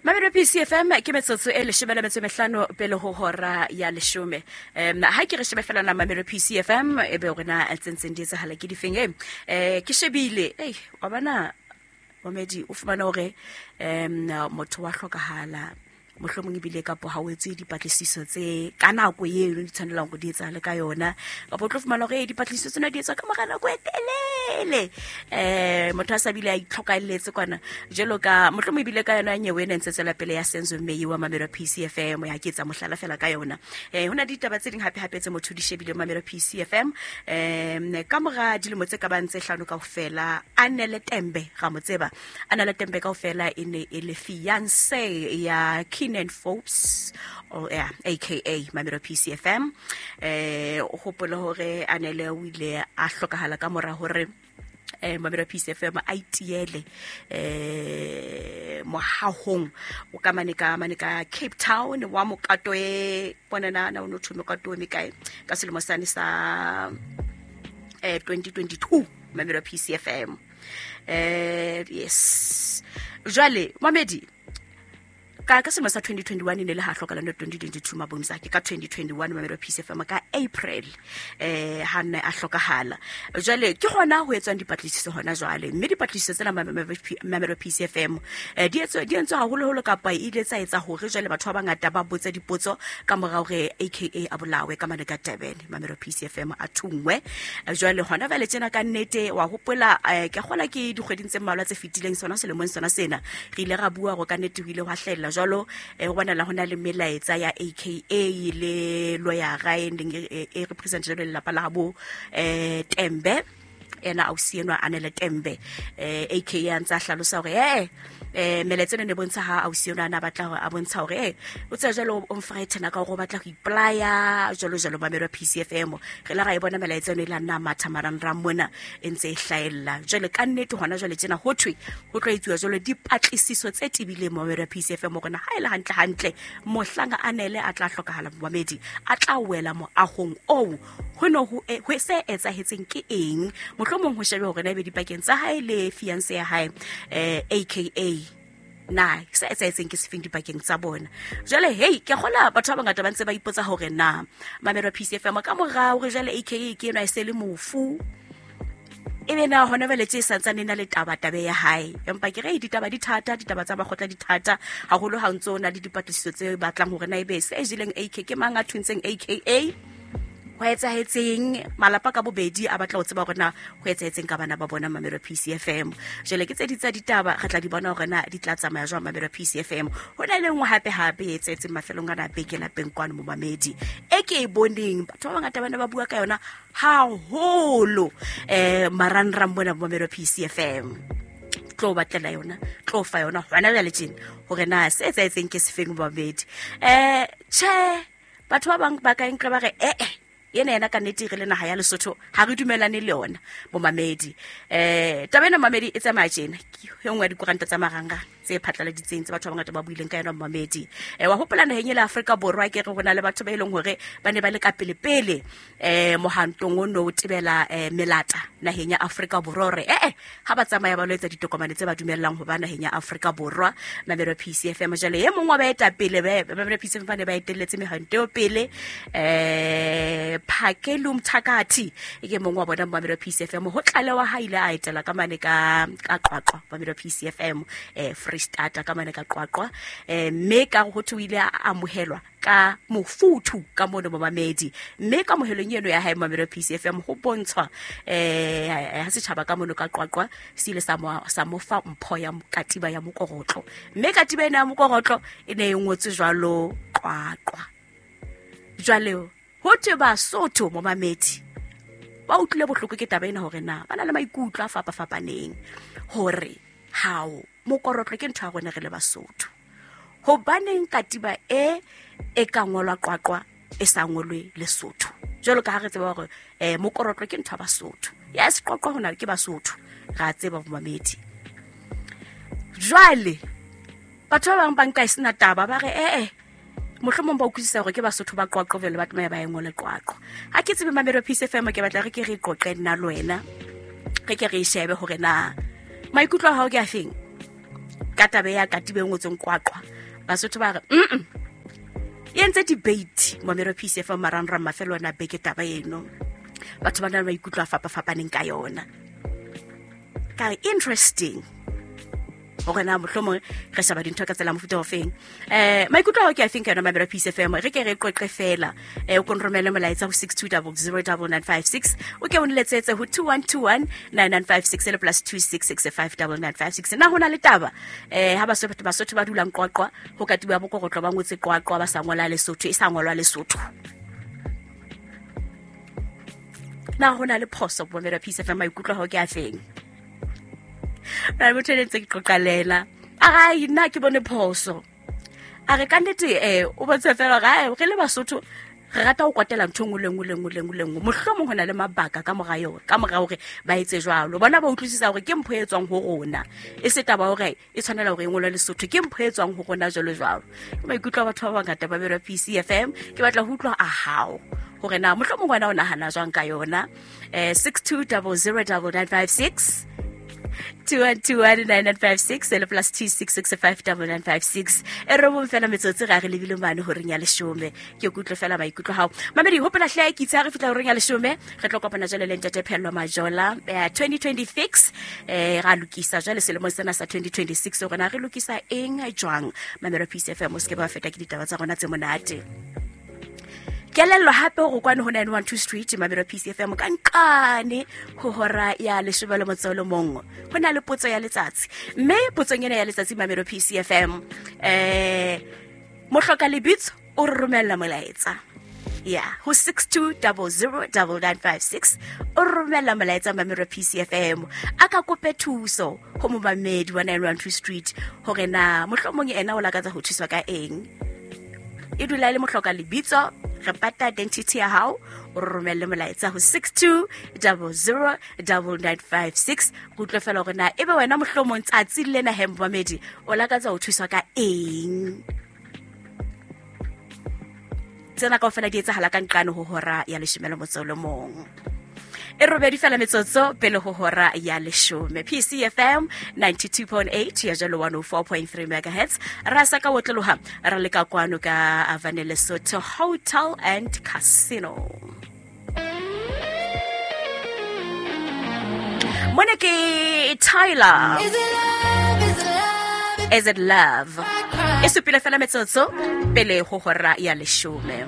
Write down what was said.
Mamelo PCFM ke metsotso e leshome le metso e mehlano pele ho hora ya leshome. Ha ke re shebe fela na Mamelo PCFM e be rona tse ntseng di etsahala ke difeng e ke shebile ei wa bona momedi o fumana hore motho wa hlokahala mohlomong ebile kapo ha o etse dipatlisiso tse ka nako eno di tshwanelang gore di etsagale ka yona kapo o tlo fumana gore dipatlisiso tsena di etswa ka mora nako e telele motho a sa bile a itlhokaeletse kwana jalo ka mohlomong ebile ka yona nyewe e ne ntse tswela pele ya Senzo Meyiwa Mamelo PCFM ya ke etsa mohlala fela ka yona. Ho na le ditaba tse ding hape hape tse motho di shebile Mamelo PCFM. Ka mora dilemo tse ka bang tse hlano kaofela Anele Tembe ra mo tseba. Anele Tembe kaofela e ne e le fiance ya Keenan Forbes or yeah, aka Mamelo PCFM. O hopole hore Anele o ile a hlokahala ka mora hore Mamelo PCFM a itiele mohahong o ka mane ka mane ka Cape Town wa mokato e bona na na o no thwe mokato o mekae ka selemo sane sa 2022 Mamelo PCFM. Yes, jwale mamedi ka selemo sa 2021 e ne le ha hlokala no 2022 mabonisa ke ka 2021 Mamelo PCFM ka April ha nne a hlokahala. Jwale ke hona ho etswang dipatlisiso hona jwale, mme dipatlisiso tsena Mamelo PCFM di etswa di entswe haholoholo kapa e ile tsa etsa hore jwale batho ba bangata ba botse dipotso ka mora hore AKA a bolawe ka mane ka Durban Mamelo PCFM a thungwe. Jwale hona jwale tjena ka nnete wa hopola ke kgola ke dikgweding tse mmalwa tse fetileng sona selemong sona sena re ile ra bua hore ka nnete ho ile hwa hlahella jwalo ho bonahala ho na le melaetsa ya AKA le lawyer-a e neng e represent jwalo lelapa la habo Tembe ena ausi enwa Anele Tembe. AKA a ntse a hlalosa hore melaetsa ena ne bontsha ha ausi enwa a na batla hore a bontsha hore o tseba jwalo o mfrighten ka hore o batla ho ipolaya jwalo jwalo Mamelo PCFM. Re la ra e bona melaetsa eno e la nna matha marangrang mona e ntse e hlahella. Jwale ka nnete hona jwale tjena ho thwe ho tlo etsuwa jwalo dipatlisiso tse tebileng Mamelo PCFM hore na ha e le hantle hantle mohlang Anele a tla hlokahala momamedi a tla wela moahong oo ho no ho se etsahetseng ke eng, mohlomong ho shebe hore na ebe dipakeng tsa hae le fiance ya hae AKA na se etsahetseng ke sefeng dipakeng tsa bona. Jwale hei ke kgola batho ba bangata ba ntse ba ipotsa hore na Mamelo PCFM ka mora hore jwale AKA ke enwa e se le mofu ebe na hona jwale tje santsane na le taba tabe ya hae, empa ke re ditaba di thata, ditaba tsa makgotla di thata haholo ha ntso na le dipatlisiso tse batlang hore na ebe se jeleng AK ke mang a thuntseng AKA, ho etsahetseng malapa ka bobedi a batla ho tseba hore na ho etsahetseng ka bana ba bona Mamelo PCFM. Jwale ke tse di tsa ditaba re tla di bona hore na di tla tsamaya jwang Mamelo PCFM. Ho na le nngwe hape hape e etsahetseng mafelong ana a beke lapeng kwano momamedi e ke e boneng batho ba bangata ba ne ba bua ka yona haholo marangrang mona Mamelo PCFM. Tlo batlela yona, tlo fa yona hona jwale tjena hore na se etsahetseng ke sefeng momamedi. Tjhe batho ba bang ba ka nka ba re yena yena ka nnete re le naha ya Lesotho ha re dumelane le yona bomamedi. Taba ena momamedi e tsamaya tjena ke e nngwe ya dikoranta tsa marangrang tse phatlaladitseng tse batho ba bangata ba buileng ka yona momamedi. Wa hopola naheng e le Afrika Borwa ke re ho na le batho ba e leng hore ba ne ba le ka pele pele mohantong o no tebela melata naheng ya Afrika Borwa hore ha ba tsamaya ba lo etsa ditokomane tse ba dumellang ho ba naheng ya Afrika Borwa Mamelo PCFM. Jwale e mong wa baetapele Mamelo PCFM ba ne ba etelletse mehanto eo pele Phakelu Mthakathi e ke mong wa bona Mamelo PCFM ho tlalewa ha ile a etela ka mane ka Qwaqwa Mamelo PCFM Free State ka mane ka Qwaqwa mme ka ho thwe o ile a amohelwa ka mofuthu ka mono momamedi, mme ka mohelong eno ya hae Mamelo PCFM ho bontshwa ha setjhaba ka mono ka Qwaqwa se ile sa mo fa mpho ya katiba ya mokorotlo, mme katiba ena ya mokorotlo e ne e ngotswe jwalo Qwaqwa. Jwale ho thwe Basotho momamedi ba utlwile bohloko ke taba ena hore na ba na le maikutlo a fapafapaneng hore hao mokorotlo ke ntho ya rona re le Basotho, hobaneng katiba e ka ngolwa Qwaqwa e sa ngolwe Lesotho jwalo ka ha re tseba hore mokorotlo ke ntho ya Basotho. Yes, Qwaqwa hona ke Basotho ra tseba momamedi. Jwale batho ba bang ba nka e sena taba ba re mohlomong ba utlwisisa hore ke Basotho ba Qwaqwa jwale ba tlameha ba e ngole Qwaqwa. Ha ke tsebe Mamelo PCFM ke batla re ke re qoqe nna le wena, re ke re shebe hore na maikutlo a hao ke a feng. Ka taba ya katiba e ngotsweng Qwaqwa, Basotho ba re e entse debate momero Peace FM marangrang mafelo ona beke taba eno. Batho ba na le maikutlo a fapafapaneng ka yona. Ka re interesting gore na mohlomong re sheba dintho ka tsela mofuta ofeng. Maikutlo ao ke a feng ka yona mamelo Peace FM? Re ke re qoqe fela. O ko nromele molaetsa ho 62009956, o ke o nletsetse ho 21219956 le plus 26659956. Na ho na le taba ha Basotho ba dulang Qwaqwa ho katiba bokorotlo ba ngotse Qwaqwa ba sa ngola Lesotho, e sa ngolwa Lesotho? Na ho na le phoso bomelo Peace FM? Maikutlo ao ke a feng? Ra motho e ntse ke qoqa le ena, a re nna ke bone phoso. A re ka nnete o bontshe fela gore re le Basotho re rata ho kwatela ntho e nngwe le nngwe le nngwe le nngwe le nngwe. Mohlomong ho na le mabaka ka mora yona, ka mora hore ba etse jwalo. Bona ba utlwisisa hore ke mpho e tswang ho rona, e se taba hore e tshwanela hore e ngolwe Lesotho, ke mpho e tswang ho rona jwalo jwalo. Ke maikutlo a batho ba bangata ba berwa Peace FM. Ke batla ho utlwa a hao hore na mohlomong wena o nahana jwang ka yona. 62009956, 21219956 le plus 26659956. E robong fela metsotso ga re lebile mane horeng ya leshome. Ke kutlwe fela maikutlo hao mamedi. Hopola hle ke itse ha re fihla horeng ya leshome re tlo kopana jwale le ntate Phello Majola, 2026. Ra lokisa jwale selemong sena sa 2026 hore na re lokisa eng jwang. Mamelo Peace FM, o se ke ba feta ke ditaba tsa rona tse monate. Kelello hape hore kwano ho 912 Street Mamelo Peace FM ka nqane ho hora ya leshome le motso o le mong ho na le potso ya letsatsi, mme potsong ena ya letsatsi Mamelo Peace FM, mohloka lebitso o re romella molaetsa ya ho 62009956. O re romella molaetsa Mamelo Peace FM, a ka kope thuso ho momamedi wa 912 Street hore na mohlomong ena o lakatsa ho thuswa ka eng. E dula e le mohloka lebitso, re pata identity ya hao, o re romelle molaetsa ho 62009956. Re utlwe fela hore na ebe wena mohlomong tsatsi lena he momamedi o lakatsa ho thuswa ka eng. Tsena kaofela di etsahala ka nqane ho hora ya leshome le motso o le mong. E robedi fela metsotso pele ho hora ya leshome. PCFM 92.8 ya jalo 104.3 megahertz. Ra sa ka otloloha ra leka kwano ka Avane Lesotho Hotel and Casino. Mona ke Tyler. Is it love? Is it love? Is it love? I cry. E supile fela metsotso pele ho hora ya leshome.